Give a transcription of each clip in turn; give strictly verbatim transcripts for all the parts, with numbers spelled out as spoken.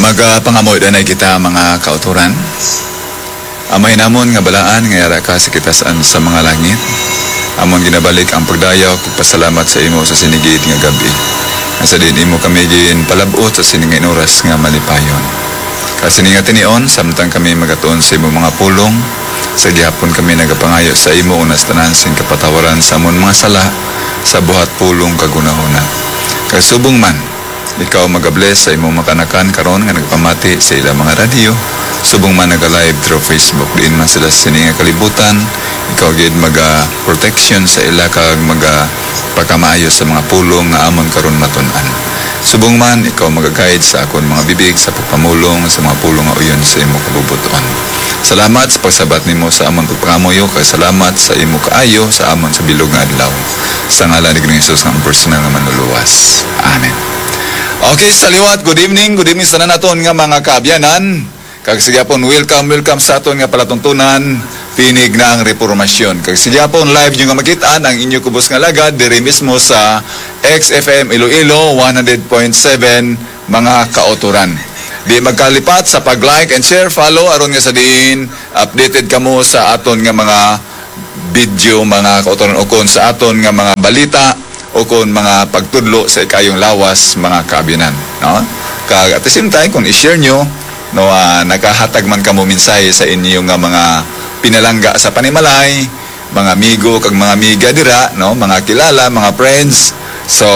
Magapangamuyo danay kita, mga kautoran. Amay namon nga balaan nga yara ka sa kitaas-an sa mga langit, amon ginabalik ang pagdayaw ug pagpasalamat sa imo sa sini gid nga gab-i, nga sa diin imo kami ginpalab-ot sa sini nga inuras nga malipayon. Kag sini nga tinion, samtang kami magatuon sa imo mga pulong, sa gihapon kami nagapangayo sa imo una sa tanan sing kapatawaran sa amon mga sala, sa buhat, pulong, kag hunahuna. Kag subong man, ikaw magabless sa imong mga kaanakan karon nga nagapamati sa ilang mga radyo, subong man naga-live through Facebook, diin man sila sa sini nga kalibutan. Ikaw gid maga-protection sa ila kag magapakamaayo sa mga pulong nga amon karon matun-an. Subong man, ikaw maga-guide sa akon mga bibig sa pagpamulong sa mga pulong nga uyon sa imo kabubot-on. Salamat sa pagsabat nimo sa amon pagpangamuyo, kag salamat sa imo kaayo sa amon sa bilog nga adlaw. Sa ngalan ni Ginoong Jesus nga ang personal nga Manluluwas. Amen. Okay, sa liwat, good evening. Good evening sa tanan naton nga mga kaabyanan. Kag sa gihapon, welcome, welcome sa aton nga palatuntunan, Tinig ng Reformasyon. Kag sa gihapon, live nyo nga makit-an ang inyo kubos nga lagad diri mismo sa X F M Iloilo one hundred point seven, mga kautoran. Di magkalipat sa pag-like and share, follow, aron nga sa diin updated kamo sa aton nga mga video, mga kautoran, ukon sa aton nga mga balita, ukon mga pagtudlo sa ikayong lawas, mga kaabyanan, no? Kag at the same time, kung i-share nyo, no, ah, nakahatag man kamo mensahe sa inyo nga mga pinalangga sa panimalay, mga amigo kag mga amiga dira, no, mga kilala, mga friends. So,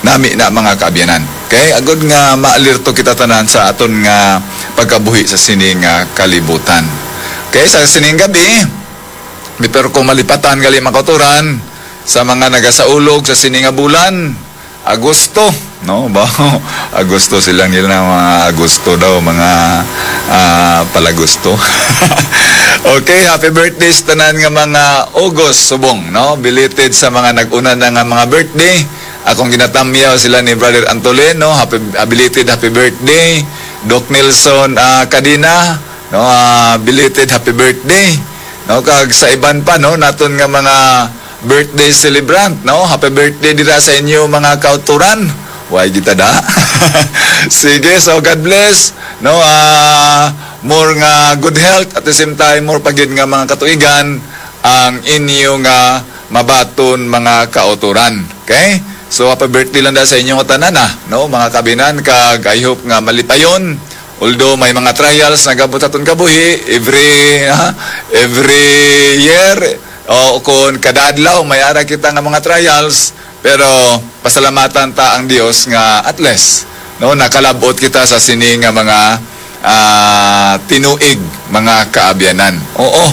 nami na, mga kaabyanan. Okay? Agod nga maalerto kita tanan sa aton nga pagkabuhi sa sini nga kalibutan. Okay, sa sining gabi, pero kung malipatan gali, mga kautoran, sa mga nagasaulog sa sini nga bulan, Agosto, no? Ba, Agosto sila nila na mga Agosto daw, mga, ah, palagusto. Okay, happy birthday sa tanan nga mga August subong, no? Belated sa mga nag-una na nga mga birthday. Akong ginatamyaw sila ni Brother Antolin, no? Happy, ah, belated happy birthday. Doc Nelson, ah, Cadena, no? Ah, belated happy birthday. No, kag sa iban pa, no, naton nga mga birthday celebrant, no? Happy birthday dira sa inyo, mga kauturan. Way kita da. Sige, so God bless, no? Ah, more nga good health, at the same time, more pa gid nga mga katuigan ang inyo nga mabaton, mga kauturan. Okay? So, happy birthday lang da sa inyo nga tanan, ah, no? Mga kabinan, kag I hope nga malipayon. Although may mga trials nagabot sa aton kabuhi, every, ha, every year, o kung kada adlaw, may ara kita nga mga trials, pero pasalamatan ta ang Dios nga at least, no, nakalabot kita sa sini nga mga, ah, tinuig, mga kaabyanan. Oo,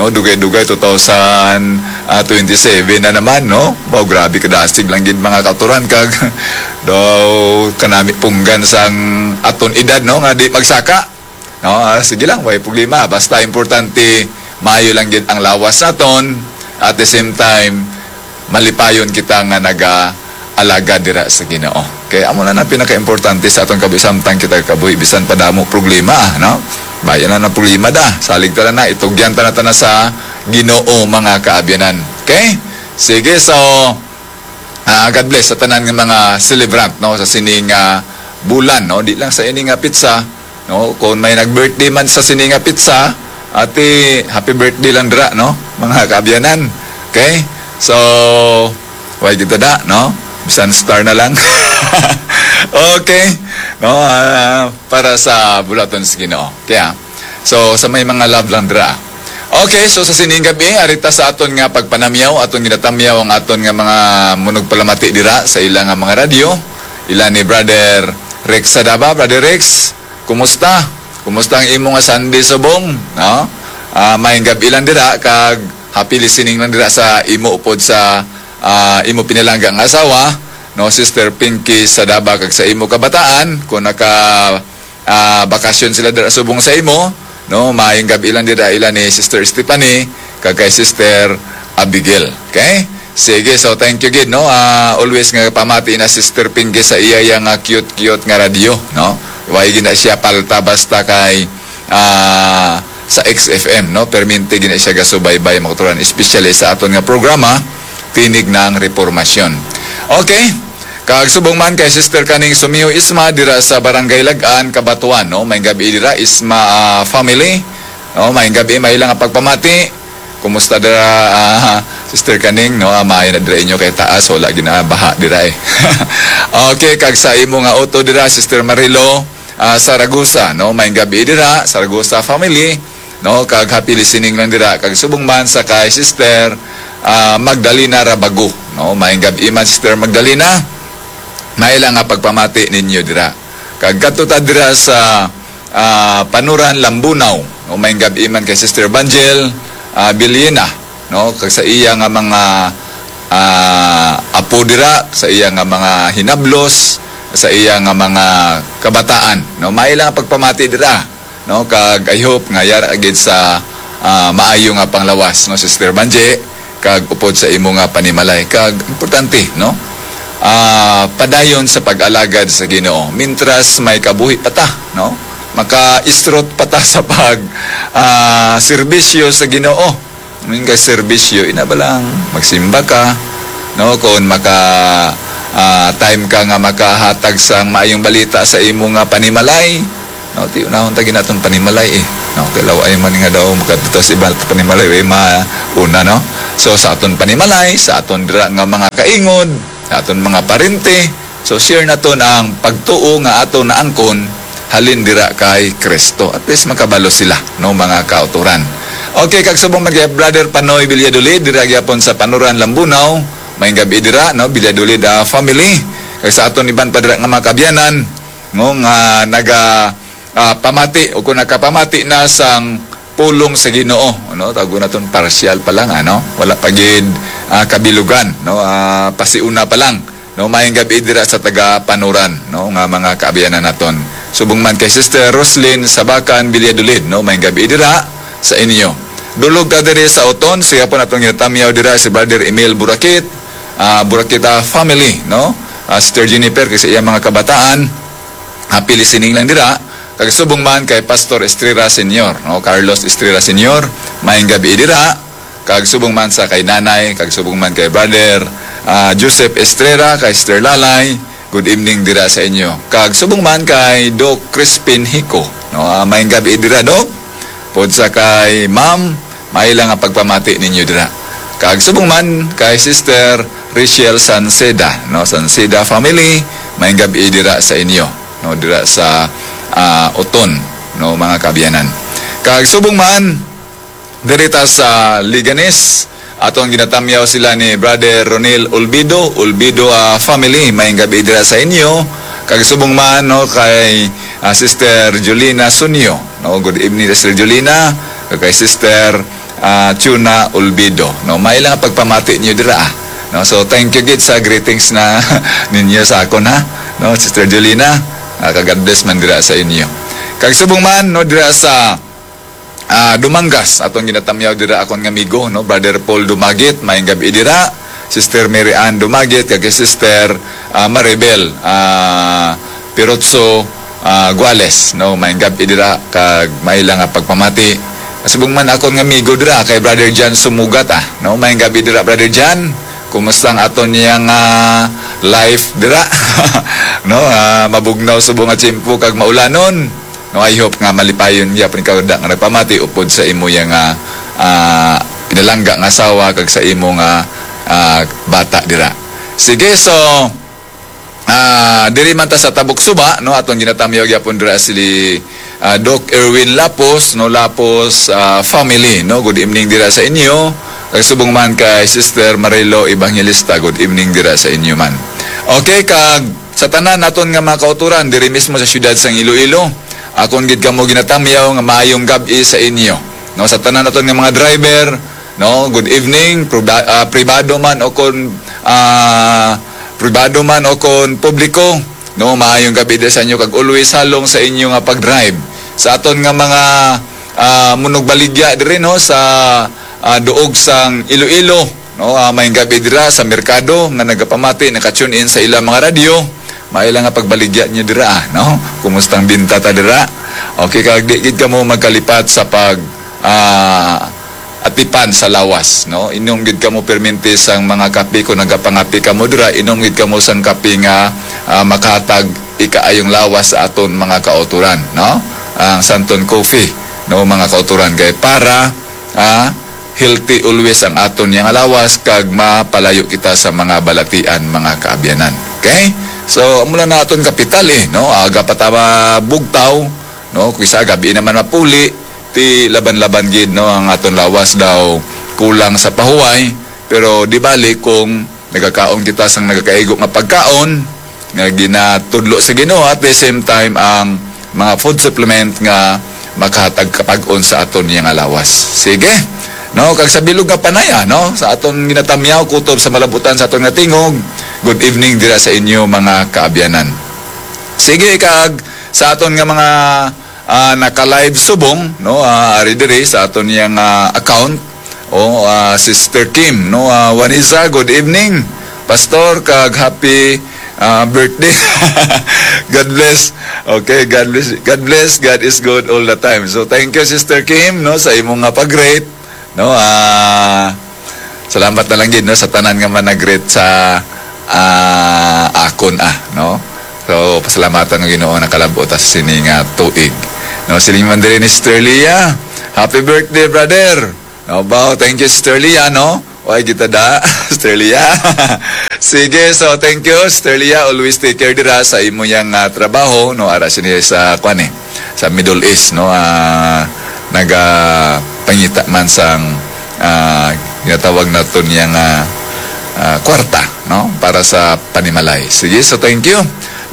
no, dugay-dugay two thousand twenty-seven na naman, no? Wow, grabe, kadasig lang gid, mga kauturan, kag daw kanami punggan sang aton edad, no, nga di magsaka. No, ah, sige lang, way problema. Basta importante, maayo lang gid ang lawas naton. At the same time, malipayon kita nga naga-alagad dira sa Ginoo. Kay amo na ang pinakaimportante sa aton kabuhi, samtang kita kabuhi, bisan pa damo problema, no? Bayan na ang problema da. Salig ta na, itugyan ta na ta na sa Ginoo, mga kaabyanan. Okay? Sige, so, ah, God bless sa tanan nga mga celebrant, no, sa sini nga bulan, no? Di lang sa ini nga petsa, no? Kung may nag-birthday man sa sini nga petsa, ati, happy birthday lang dira, no? Mga kaabyanan. Okay? So, way kita da, no? Bisan star na lang. Okay? No, ah, para sa bulaton sa Ginoo. Kaya, so, sa may mga love lang dira. Okay, so sa sining gabi, arita sa aton nga pagpanamyaw, aton ginatamyaw ang aton nga mga munugpalamati dira sa ila nga mga radyo. Ila ni Brother Rex Sadaba. Brother Rex, kumusta? Kumusta ang imo nga Sunday subong? No? Ah, may gabi lang dira, kag happy listening lang dira sa imo upod sa, ah, imo pinalangga nga asawa, no, Sister Pinky Sadaba, kag sa imo kabataan, kung naka, ah, bakasyon sila dira subong sa imo, no, maayong gabi lang dira ila ni Sister Stephanie kag kay Sister Abigail. Okay? Sige, so thank you gid, no. Ah, always nga pamati na Sister Pinky sa iya, iya nga cute-cute nga radyo, no. Way gid na siya palta basta kay, ah, sa X F M, no. Permente gid na siya gasubaybay, mga kauturan, especially sa aton nga programa, Tinig ng Reformasyon. Okay? Kag subong man kay Sister Kaning Sumiho Isma dira sa Barangay Lagan, Cabatuan, no? Maayong gabi dira, Isma, ah, family. No, maayong gabi, may lang pagpamati. Kumusta dira, ah, Sister Kaning, no? Ah, maayo na dira inyo kay taas, wala ginabaha dira eh. Okay, kag sa imo nga auto dira, Sister Marilo, ah, Saragosa, no? Maayong gabi dira, Saragosa family, no? Kag happy listening lang dira. Kag subong man sa kay Sister, ah, Magdalena Rabago, no? Maayong gabi man, Sister Magdalena. May lang nga pagpamati ninyo dira. Kag kadto ta dira sa, ah, Panuran, Lambunao, no? Maayong gabi man kay Sister Banjel, ah, Biliena, no? Kag sa iya nga mga, ah, apo dira, sa iya nga mga hinablos, sa iya nga mga kabataan, no? May lang nga pagpamati dira, no? Kag I hope nga yara gid sa, ah, maayo nga panglawas, no, Sister Banje, kag upod sa imo nga panimalay. Kag importante, no? Ah, padayon sa pag-alagad sa Ginoo. Mintras may kabuhi pa ta, no? Maka-isrot pa ta sa pag, ah, serbisyo sa Ginoo. Amin kay serbisyo, ina ba lang, magsimba ka, no? Kung maka, ah, time ka nga makahatag sang maayong balita sa imo nga panimalay, no? Ti unahon ta ginaton panimalay eh. No, kay law ay man nga daw makadto sa iba panimalay, way mauna, no? So, sa aton panimalay, sa aton dira nga mga kaingod, sa aton mga parente, so share naton ang pagtuo nga aton naangkon halin dira kay Kristo. At least makabalo sila, no, mga kauturan. Okay, kag subong man kay Brother Panoy Villadolid, dira gyapon sa Panuran, Lambunao, maayong gabi dira, no, Villadolid, ah, family. Kag sa aton iban pa dira nga mga kabyanan, no, nga naga, ah, pamati o kung nakapamati na sang pulong sa Ginoo, no, tago naton partial pa lang, ano, wala pa gid, ah, kabilugan, no, ah, pasiuna pa lang. No, maayong gabi dira sa taga Panuran, no, nga mga kaabyanan naton. Subong man kay Sister Roslyn Sabakan Villadolid, no, maayong gabi dira sa inyo. Dulog ta diri sa Oton, siya po natong ginatamyaw dira si Brother Emil Burakit, ah, Burakita family, no? Ah, Sister Jennifer, kay sa iyang mga kabataan, happy listening lang dira. Kag subong man kay Pastor Estrera Senior, no? Carlos Estrera Senior, maayong gabi dira. Kag subong man sa kay Nanay, kag subong man kay Brother, ah, Joseph Estrera, kay Sister Lalay, good evening dira sa inyo. Kag subong man kay Doc Crispin Hico, no? Ah, maayong gabi dira, Doc. Pod sa kay Ma'am, may lang nga pagpamati ninyo dira. Kag subong man kay Sister Rachel Sanceda, no? Sanceda family, maayong gabi dira sa inyo, no? Dira sa, ah, Oton, no, mga kaabyanan. Kag subong man, diri ta sa Leganes, aton ginatamyaw sila ni Brother Ronil Olvido, Olvido, ah, family, maayong gabi dira sa inyo. Kag subong man, no, kay, ah, Sister Jolina Sunyo, no, good evening, Sister Jolina, kag kay Sister, ah, Chuna Olvido, no, may lang pagpamati niyo dira, ah. No, so thank you gid sa greetings na ninyo sa akon, ha, no, Sister Jolina, ah, kag God bless man dira sa inyo. Kag subong man, no, dira sa ah, Dumangas, atong ginatamyaw dira akon nga amigo, no, Brother Paul Dumagit, maayong gabi dira, Sister Mary Ann Dumagit, kag kay Sister, ah, Maribel, ah, Pirotso, ah, Guales, no, maayong gabi dira, kag may lang nga pagpamati. Subong man akon nga amigo dira kay Brother John Sumugat, ah, no, maayong gabi dira, Brother John. Kumusta ang aton niya nga life dira? No, ah, mabugnaw subong nga tiyempo kag maulanon. No, I hope nga malipayon gyapon ka, da, nga nagpamati upod sa imo ya nga, ah, pinalangga nga asawa kag sa imo nga, ah, bata dira. Sige, so, ah, diri man ta sa Tabok Suba, no, aton ginatamyaw gyapon dira si, ah, Doc Erwin Lapos, no, Lapos, ah, family, no. Good evening dira sa inyo. Kag subong man kay Sister Marilo Evangelista, good evening dira sa inyo man. Okay, kag sa tanan naton nga mga kauturan diri mismo sa siyudad sang Iloilo, akon gid kamo ginatamyaw nga maayong gab-i sa inyo. No, sa tanan naton nga mga driver, no, good evening, proba-, ah, pribado man o kon, ah, pribado man o kon publiko, no, maayong gab-i sa inyo kag always halong sa inyo nga pag-drive. Sa aton nga mga, ah, munugbaligya diri, no, sa, ah, duog sang Iloilo, no, ah, maayong gab-i dira sa merkado nga nagapamati, naka-tune in sa ilang mga radyo. May lang nga pagbaligya niyo dira, ah, no? Kumusta ang binta ta dira? Okay, kag di gid kamo magkalipat sa pag, ah, atipan sa lawas, no? Inom gid kamo permente sang mga kape. Kung nagapangape kamo dira, inom gid kamo sang kape nga, ah, makahatag ikaayong lawas sa aton mga kautoran, no? Ang Santon Coffee, no, mga kautoran, kay para, ah, healthy always ang aton yang lawas kag mapalayo kita sa mga balatian, mga kaabyanan. Okay? So, amo lang na aton kapital, eh, no? Aga pa ta mabugtaw, no? Kung sa gabi naman mapuli, ti laban-laban gid, no, ang aton lawas daw kulang sa pahuway, pero di bali kung nagakaon kita sang nagakaigo nga pagkaon nga ginatudlo sa Ginoo, at the same time ang mga food supplement nga makahatag kapag-on sa aton niya nga lawas. Sige. No, kag sa bilog nga panaya, no, sa aton ginatamyaw kutob sa malabutan sa aton nga tingog. Good evening dira sa inyo, mga kaabyanan. Sige, kag sa aton nga mga, ah, naka-live subong, no, ah, ari diri sa aton yang, ah, account. Oh, ah, Sister Kim, no, ah, Wanisa, good evening, Pastor, kag happy, ah, birthday. God bless. Okay, God bless. God bless. God is good all the time. So, thank you, Sister Kim, no, sa imo nga pag-greet, no. Ah, salamat na lang gid, no, sa tanan nga man nag-greet sa, ah, akon, ah, no. So, pasalamatan ang Ginoo, nakalab-ot ta sa sini nga tuig. No, siling man diri ni Sister Leah, "Happy birthday, brother." No, bao, thank you, Sister Leah, no? Oy, kita da, Sister Leah. Sige, so thank you, Sister Leah. Always take care dira sa imo yang, ah, trabaho, no? Ara sini sa, kwan, eh, sa Middle East, no? Ah, nagapangita man sang, ah, ginatawag naton yang, ah, ah, kwarta, no? Para sa panimalay. Sige, so thank you.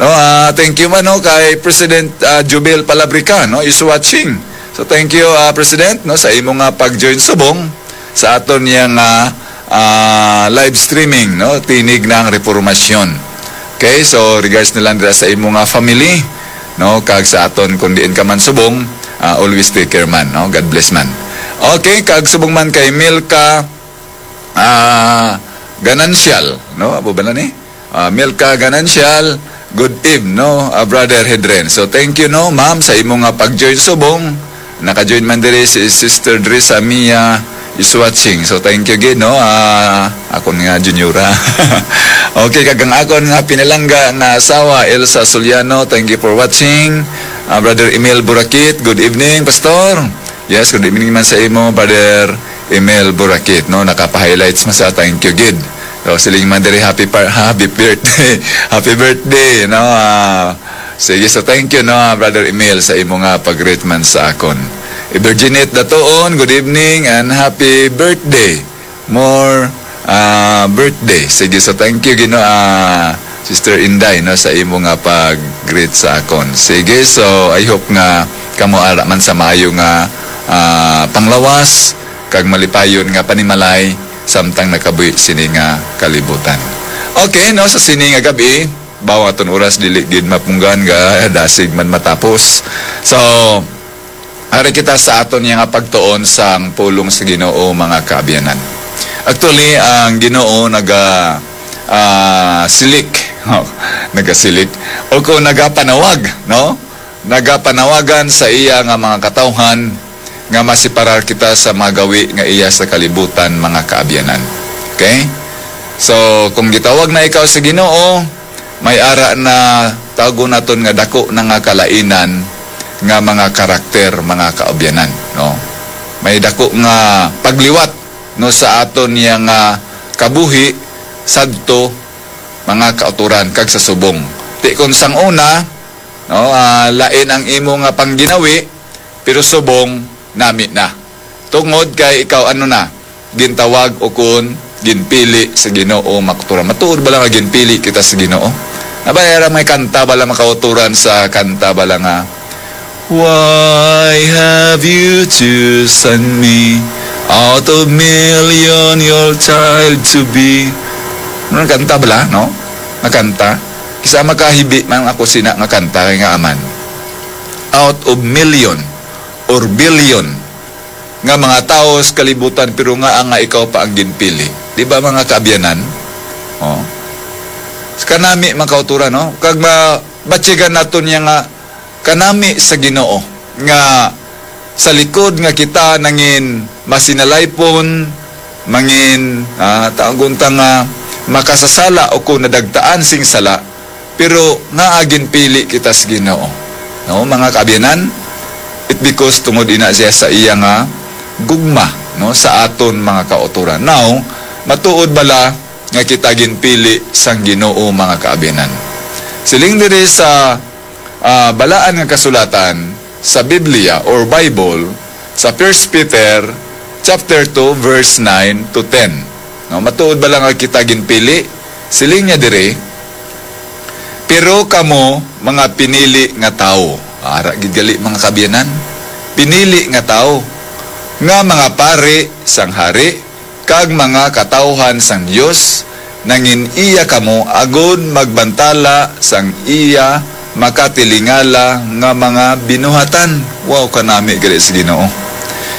No, ah, thank you man, no, kay President, ah, Jubel Palabrica, no, is watching. So thank you, ah, President, no, sa imo nga pag-join subong sa aton yang, ah, ah, live streaming, no, Tinig ng Reformasyon. Okay, so regards na lang dira sa imo nga family, no, kag sa aton kung diin ka man subong, ah, always take care man, no. God bless man. Okay, kag subong man kay Milka, ah, Ganancial, no? Abo ba na ni? Ah, Milka Ganancial, good eve, no, ah, Brother Hedren. So, thank you, no, ma'am, sa imo nga pag-join subong. Naka-join man diri si Sister Drisa Mia is watching. So, thank you gid, no? Ah, akon nga juniora. Okay, kag ang akon nga pinalangga nga asawa, Elsa Soliano, thank you for watching. Ah, Brother Emil Burakit, good evening, Pastor. Yes, good evening man sa imo, Brother Emil Burakit, no? Nakapa-highlights man sa, thank you gid. So, siling man diri, happy par-, happy birthday. Happy birthday, no? Ah, sige, so thank you, no, Brother Emil, sa imo nga pag-greet man sa akon. Virginette Datuon, good evening and happy birthday. More, ah, birthday. Sige, so thank you, Gino, ah, Sister Inday, no, sa imo nga pag-greet sa akon. Sige, so I hope nga kamo ara man sa maayo nga, ah, panglawas kag malipayon nga panimalay samtang nakabuhi sini nga kalibutan. Okay, no, sa sini nga gabi, bawo aton oras dili gid mapunggan, ga dasig man matapos. So, ari kita sa aton nga pagtuon sang pulong sa Ginoo, mga kaabyanan. Actually, ang Ginoo naga, ah, silik, nagasilik, o kung nagapanawag, no? Nagapanawagan sa iya nga mga katawhan nga masiparar kita sa mga gawi nga iya sa kalibutan, mga kaabyanan. Okay? So, kung gitawag na ikaw sa Ginoo, may ara na, tawgon naton nga, dako na nga kalainan nga mga karakter, mga kaabyanan, no? May dako nga pagliwat, no, sa aton niya nga kabuhi sadto, mga kautoran, kag sa subong. Ti kon sang una, no, ah, lain ang imo nga pangginawi, pero subong nami na. Tungod kay ikaw, ano na, gintawag o kon ginpili sa Ginoo, mga kautoran. Matuod ba lang nga ginpili kita sa Ginoo? Nabaya ra may kanta bala, mga kautoran, sa kanta bala nga, "Why have you chosen me out of million, your child to be?" Ano ang kanta bala, no? Nga kanta. Kisa makahibi man ako sina nga kanta kay nga aman. Out of million or billion nga mga tawo sa kalibutan, pero nga nga ikaw pa ang ginpili. Di ba, mga kaabyanan? Oh. Kanami, mga kautoran, no? Kag mabatyagan naton niya nga kanami sa Ginoo nga sa likod nga kita nangin masinalaypon, mangin, ah, tawgon ta nga makasasala o kung nadagtaan sing sala, pero nga ginpili kita sa Ginoo. No, mga kaabyanan, it because tungod ina siya sa iya nga gugma, no, sa aton mga kautoran. Now, matuod bala nga kita ginpili sang Ginoo, mga kaabyanan? Siling diri sa, ah, balaan nga kasulatan sa Biblia or Bible, sa First Peter chapter two, verse nine to ten. No, matuod bala nga kita ginpili? Siling niya diri, "Pero kamo, mga pinili nga tawo." Ara gid gali, mga kaabyanan, pinili nga tawo, nga mga pari sang hari, kag mga katawuhan sang Dios, nangin-iya kamo agod magbantala sang iya makatilingala nga mga binuhatan. Wow, kanami gali sa Ginoo.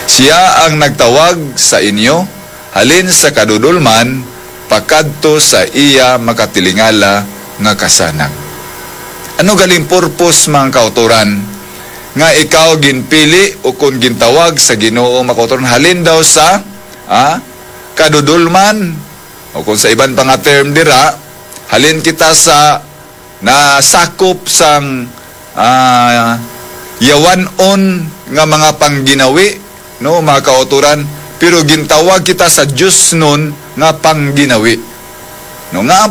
Siya ang nagtawag sa inyo halin sa kadudolman pakadto sa iya makatilingala nga kasanag. Ano galing purpose, mga kautoran, nga ikaw ginpili o kon gintawag sa Ginoo, mga kautoran, halin daw sa, ah, kadudolman, o kung sa iban pa nga term dira, halin kita sa nasakop sang, ah, yawan-on nga mga pangginawi, no, mga kautoran, pero gintawag kita sa diosnon nga pangginawi. No, nga ang